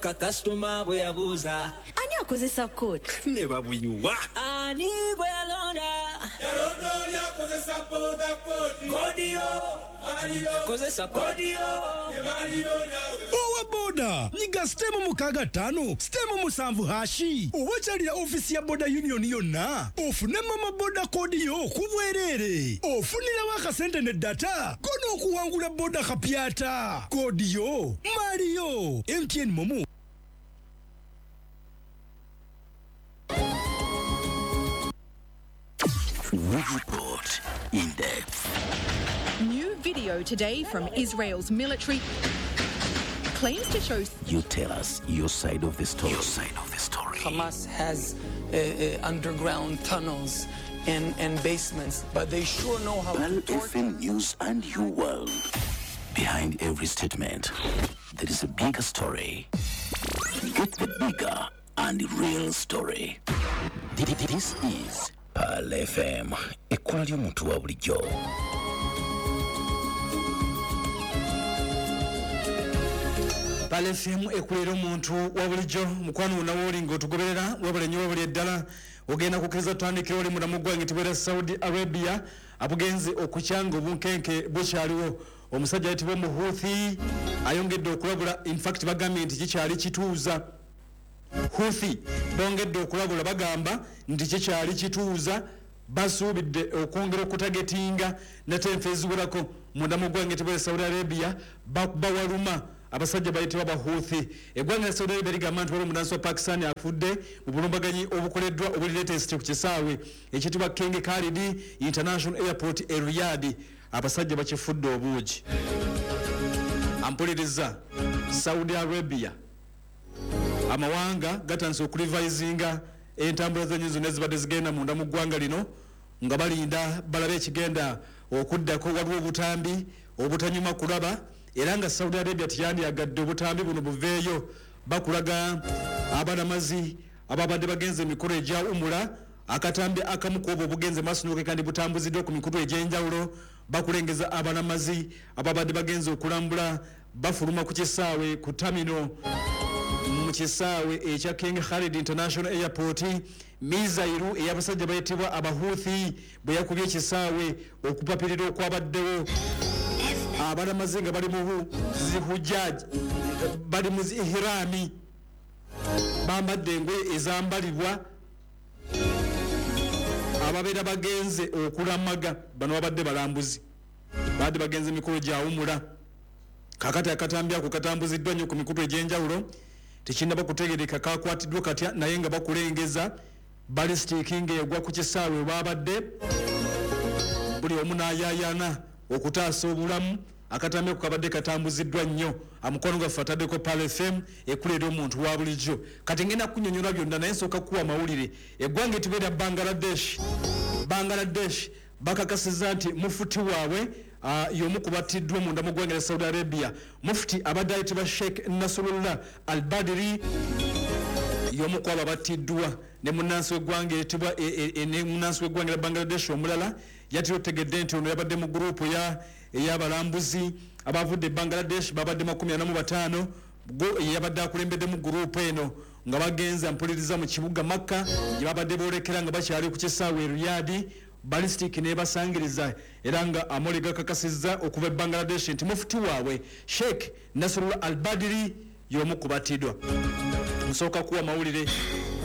Kasitoma bwe yabuuza Ani akozesa kooti? Ne babuyiwa. Ani gwe yalonda? Yalonda oli akozesa boda kodi. Kodiyo kozesa kodiyo. Owa boda, nyiga sitemu 65 sitemu 7 hashi oba kyalira ofiisi ya boda union yonna ofune mama boda kodi yo ku bwereere, ofunirawo akasente ne data ko n'okuwangula boda kapyata. Kodi yo maliyo. MTN MoMo. We report in depth. New video today from Israel's military claims to show. You tell us your side of the story. Your side of the story. Hamas has underground tunnels and basements, but they sure know how Pearl to torture. FM News and your world. Behind every statement, there is a bigger story. Get the bigger and real story. This is Pearl FM. Ekkola ly'omuntu wa bulijjo. Pearl FM ekulera omuntu wa bulijjo. Mukwano wonna wooli ng'otugoberera, webale nnyo, webale ddala. Ogenda kukkiriza tutandikira oli munda mu ggwanga etibeera Saudi Arabia, abugenze okukyanga obunkenke bukyaliwo. Omusajja ayitibwa Omuhuthi ayongedde okulabula. Infact bagambye nti kikyali kituuza. Huthi bongedde okulabula, bagamba nti kikyali kituuza, basuubidde okwongera okutagetinga nate enfa eziwerako munda mu ggwanga etibeera Saudi Arabia. Bawaluma abasajja bayitibwa Bahuthi. Eggwanga lya Saudi Arabia ligamba nti waliwo omunansi wa Pakistan afudde mu bulumbaganyi obukoleddwa obuli latest ku kisaawe ekiyitibwa King Khalid International Airport e Riyadh. Abasajja bakifudde obuugi. Ampuliriza, Saudi Arabia, amawanga gatandise okulivayizinga entambula z'ennyonyi zonna ezibadde zigenda munda mu ggwanga lino nga balinda balabe ekigenda okuddako. Waliwo obutambi obutanyuma kulaba, era nga Saudi Arabia teyandyagadde obutambi buno buveeyo. Bakulaga abalamazi ababadde bagenze emikolo egya umula. Akatambi akamu ku obwo obugenze maaso n'okeka kandi butambuziddwa ku mikutu egy'enjawulo, bakulengeza abalamazi ababadde bagenze okulambula bafuluma ku kisaawe ku terminal mu kisaawe ekya King Khalid International Airport. Mizairu ey'abasajja bayitibwa Abahuthi bwe yakubye ekisaawe, okupapirira okwabaddewo, abalamazi nga bali mu zihujaji, bali mu ihirami, bambadde engoye ezambalibwa ababeera bagenze okulamaga. Bano babadde balambuzi, babadde bagenze emikolo gyawumula. Kakati akatambi ako katambuziddwa nnyo ku mikutu egy'enjawulo, tekinnaba kutegereka kakwatiddwa katya, naye nga bakulengeza ballistic ng'egwa ku kisaawe babadde, buli omu n'ayaayana okutaasa obulamu. Akatambi ako kabadde katambuziddwa nnyo. Amukwano gwaffe ataddeko Pearl FM ekulera omuntu wa bulijjo. Kati ngenda kunyonyola byonna, naye nsooka kuwa amawulire. Eggwanga etibeera Bangladesh, Bangladesh bakakasizza nti mufuti waabwe y'omu ku battiddwa munda mu ggwanga lya Saudi Arabia. Mufuti abadde ayitibwa Sheikh Nasrullah Al Badiri y'omu ku abo abattiddwa ne munnansi w'eggwanga eritibwa ne munnansi w'eggwanga lya Bangladesh omulala. Yatera otegedde nti ono yabadde mu gurupu ey'abalambuzi abavudde e Bangladesh, babadde 45. Yabadde akulembeddemu gurupu eno nga bagenza mpuliriza mu kibuga Makka gye babadde boolekera nga bakyali ku kisaawe e Riyadh, ballistic nebasangiriza. Era nga amole gakakasizza okuva e Bangladesh nti mufuti waabwe Sheikh Nasrullah Al Badiri y'omu ku battiddwa. Nsooka kuwa mawulire,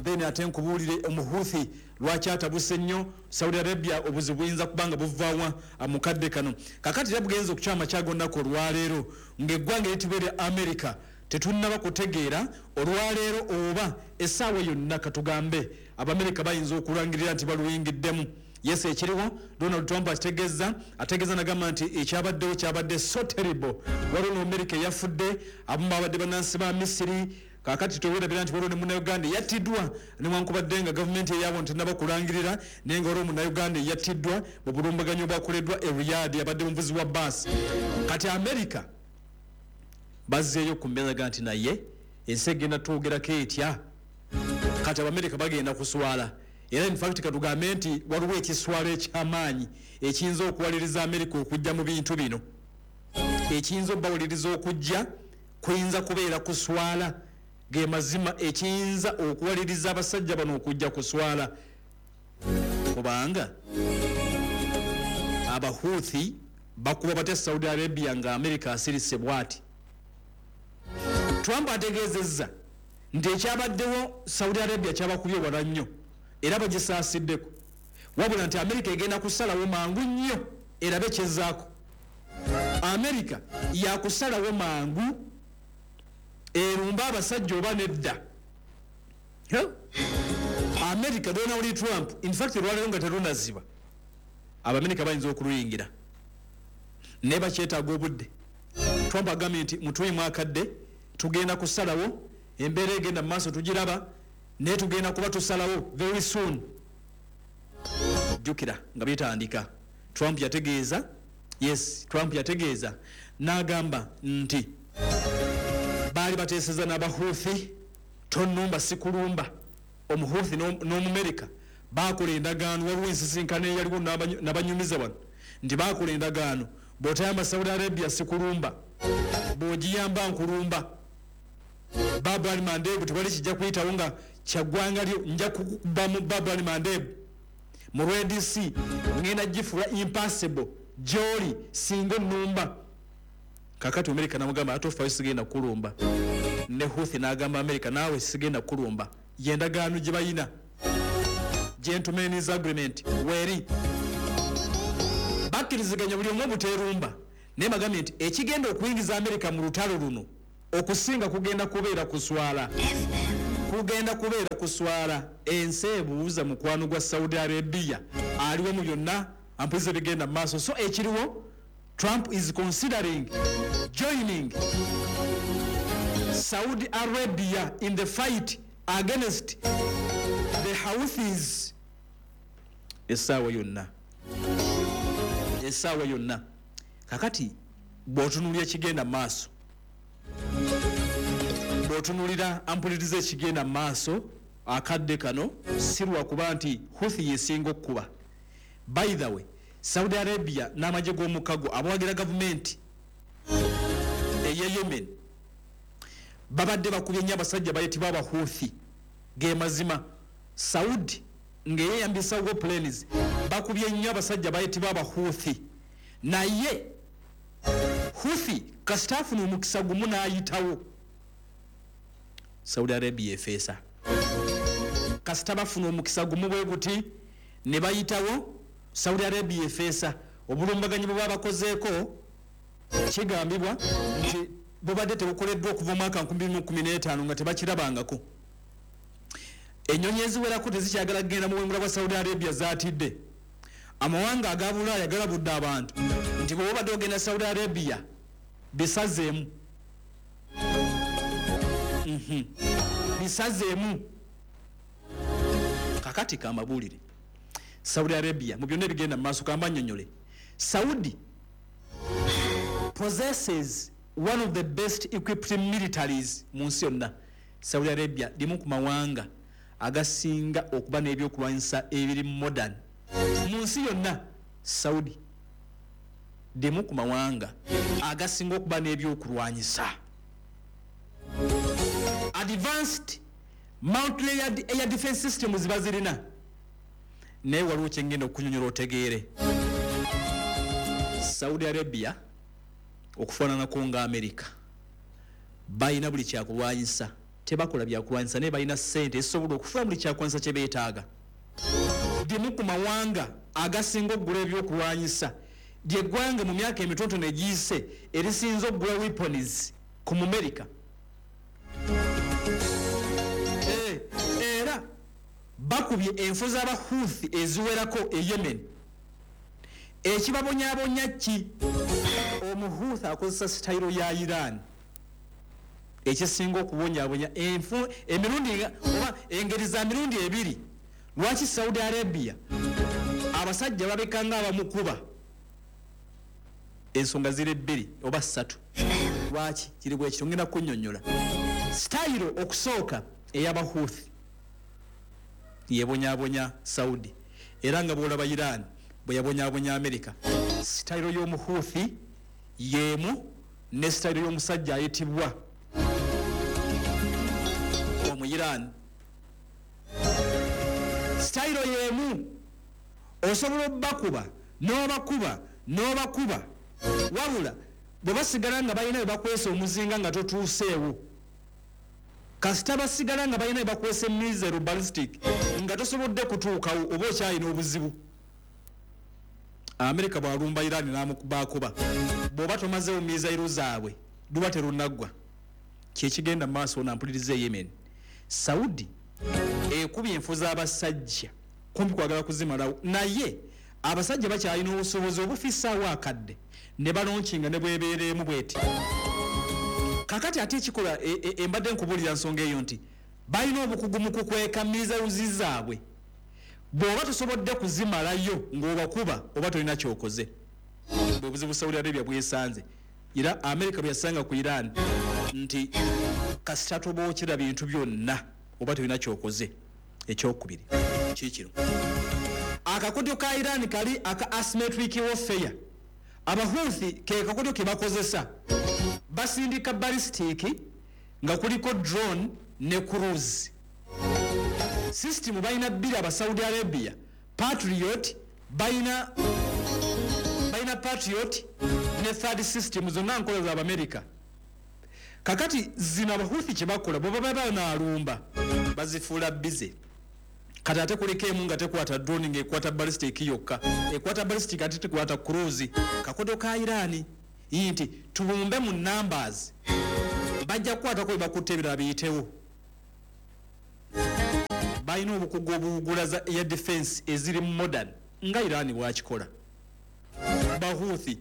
then ate nkubuulire Omuhuthi lwaki atabuse nnyo Saudi Arabia, obuzibu buyinza kuba nga buvaawa mu kadde kano. Kakati era bugenza okukyama kyaga olunaku olwaleero ng'eggwanga eritibwa erya America tetunnaba kutegeera olwaleero oba essaawa yonna katugambe Abamerika bayinza okulangirira nti baluyingiddemu. Yes, ekiriwo Donald Trump akitegeeza, ategeeza nagamba nti ekyabaddewo kyabadde so terrible. Waliwo n'Amerika eyafudde, abamu babadde bannansi ba Misiri. Kakati tewerabira nti waliwo ne Munnayuganda eyattiddwa, newankubadde nga gavumenti eyaabo tennaba kulangirira, naye nga waliwo Munnayuganda eyattiddwa mu bulumbaganyi obwakoleddwa e Riyadh, abadde muvuzi wa baasi. Kati Amerika bazzeeyo ku mbeera nti naye ensi egenda twogerako etya? Kati Abamerika bagenda kuswala. Era in fact katugambe nti waliwo ekiswalo ekyamaanyi ekiyinza okuwaliriza Amerika okujja mu bintu bino. Ekiyinza obbawuliriza okujja kuyinza kubeera kuswala. Ge mazima ekiyinza okuwaliriza abasajja bano okujja kuswala, kubanga Abahuthi bakuba batya Saudi Arabia nga America asirise bwati? Trump ategeezezza nti ekyabaddewo Saudi Arabia kyabakubye wala nnyo era bagisaasiddeko, wabula nti America egenda kusalawo mangu nnyo erabe kyezzaako. America yakusalawo mangu erumba abasajja oba nedda. America, Donald Trump, in fact lwaleero nga terunaziba, Abamerika bayinza okuluyingira, naye bakyetaaga obudde. Trump agambye nti mutuyimu akadde, tugenda kusalawo, embeera egenda mu maaso tugiraba, naye tugenda kuba tusalawo very soon. Jjukira nga bitandika, Trump yategeeza, yes, Trump yategeeza n'agamba nti baali bateeseza n'Abahuthi, tonnumba sikulumba. Omuhuthi n'Omumerika bakola endagaano, waliwo ensisinkano eyaliwo nabanyumiza wano nti bakola endagaano, bw'otayamba Saudi Arabia sikulumba, bw'ogiyamba nkulumba. Bab al Mandeb tewali kijja kuyitawo nga kyaggwanga lyo, nja kukuba mu Bab al Mandeb mu Red Sea, ngenda gifuula impassable gy'oli singa onnumba. Kakati Amerika namugamba ate ofayo, sigenda kukulumba. Ne Huthi n'agamba Amerika naawe sigenda kukulumba. Yendagaano gye bayina, gentlemen's agreement, weeri bakkiriziganya buli omu obuteerumba. Naye bagambye nti ekigenda okuyingiza Amerika mu lutalo luno okusinga kugenda kubeera kuswala, kugenda kubeera kuswala. Ensi ebuuza mukwano gwa Saudi Arabia aliwo mu byonna ampuliza ebigenda mu maaso. So ekiriwo, Trump is considering joining Saudi Arabia in the fight against the Houthis. Essaawa yonna, essaawa yonna. Kakati bw'otunuulira ekigenda mu maaso, bw'otunuulira ampuliriza ekigenda mu maaso akadde kano, si lwakuba nti Houthi yesinga okkuba. By the way, Saudi Arabia n'amagye g'omukago abawagira gavumenti ey'e Yemen babadde bakubye nnyo abasajja bayitibwa Abahuthi. Ge mazima, Saudi ng'eyeyambisa war planes bakubye nnyo abasajja bayitibwa Abahuthi, naye Huthi kasita afuna omukisa gumu n'ayitawo, Saudi Arabia efeesa. Kasita bafuna omukisa gumu bwe guti ne bayitawo, Saudi Arabia efeesa. Obulumbaganyi bwe babakozeeko kigambibwa nti bubadde tebukoleddwa okuva omwaka 2015 nga tebakirabangako. Ennyonyi eziwerako tezikyagala kugenda mu bwengula bwa Saudi Arabia, zaatidde. Amawanga aga Bulaaya galabudde abantu nti bwe obadde ogenda Saudi Arabia bisazeemu, bisazeemu. Kakati kambabuulire, Saudi Arabia mu byonna ebigenda mu maaso, kamba nnyonnyole, Saudi possesses one of the best equipped militaries mu nsi yonna. Saudi Arabia limu ku mawanga agasinga okuba n'ebyokulwanyisa ebiri modern mu nsi yonna. Saudi limu ku mawanga agasinga okuba n'ebyokulwanyisa, advanced multi-layered air defense systems bazirina. Naye waliwo kyengenda okunyonyola otegeere. Saudi Arabia okufaananako nga America balina buli kyakulwanyisa, tebakola byakulwanyisa, naye balina ssente ezisobola okufuna buli kyakulwanyisa kye beetaaga. Limu ku mawanga agasinga okugula ebyokulwanyisa, lyeggwanga mu myaka emitonotono egiyise erisinze okugula weapons ku Mumerika. Era bakubye enfo z'Abahuthi eziwerako e Yemen. Ekibabonyaabonya ki? Omuhuthi akozesa sitayiro ya Iran. Ekisinga okubonyaabonya enfu emirundi oba engeri za mirundi ebiri lwaki Saudi Arabia abasajja babeka nga abamukuba, ensonga ziri bbiri oba ssatu lwaki kiri bwe kityo. Ngenda kunnyonnyola. Sitayiro okusooka ey'Abahuthi yebonyabonya Saudi, era nga bwolaba Iran bwe yabonyabonya Amerika. Sitayiro y'Omuhuthi y'emu ne sitayiro y'omusajja ayitibwa Iran. Sitayiro y'emu, osobola obbakuba n'obakuba n'obakuba, wabula bwe basigala nga balina bwe bakwesa omuzinga nga totuuseewo, kasita basigala nga balina bwe bakwesa emizero ballistic nga tosobodde kutuukawo, oba okyalina obuzibu. Amerika bwalumba Iran n'amukubakuba, bw'oba tomazeewo mizayiro zaabwe luba terunaggwa. Kyekigenda mu maaso nampuliriza e Yemen. Saudi ekubye enfu z'abasajja kumpi kwagala kuzimalawo, naye abasajja bakyalina obusobozi obufisaawo akadde ne balonkinga ne bwebeeremu bweti. Kakati ate ekikola embadde nkubuulira nsonga eyo nti balina obukugu mu kukweka mizayuzi zaabwe. Bw'oba tosobodde kuzimalayo ng'obakuba, oba tolina kyokoze. Bwe buzibu Saudi Arabia bwesanze, era Amerika bwe yasanga ku Iran nti kasita tobookera bintu byonna, oba tolina kyokoze. Ekyokubiri kikino, akakodyo ka Iran kali aka asymmetric warfare. Abahuthi ke kakodyo ke bakozesa, basindika ballistic nga kuliko drone ne cruise system. Balina bbiri aba Saudi Arabia, Patriot, balina Patriot ne THAAD system, zonna nkola za Abamerika. Kakati zino Abahuthi kye bakola, bwe baba banaalumba bazifuula bize. Kati ate kuliko emu nga tekwata drone, ng'ekwata ballistic yokka, ekwata ballistic ate tekwata cruise. Kakodo ka Irani nti tubumbe mu numbers, bajja kukwatako bwe bakutte, ebirala biyitewo. Balina obukugu obuwugula za air defense eziri modern nga Irani bwakikola. Bahuthi.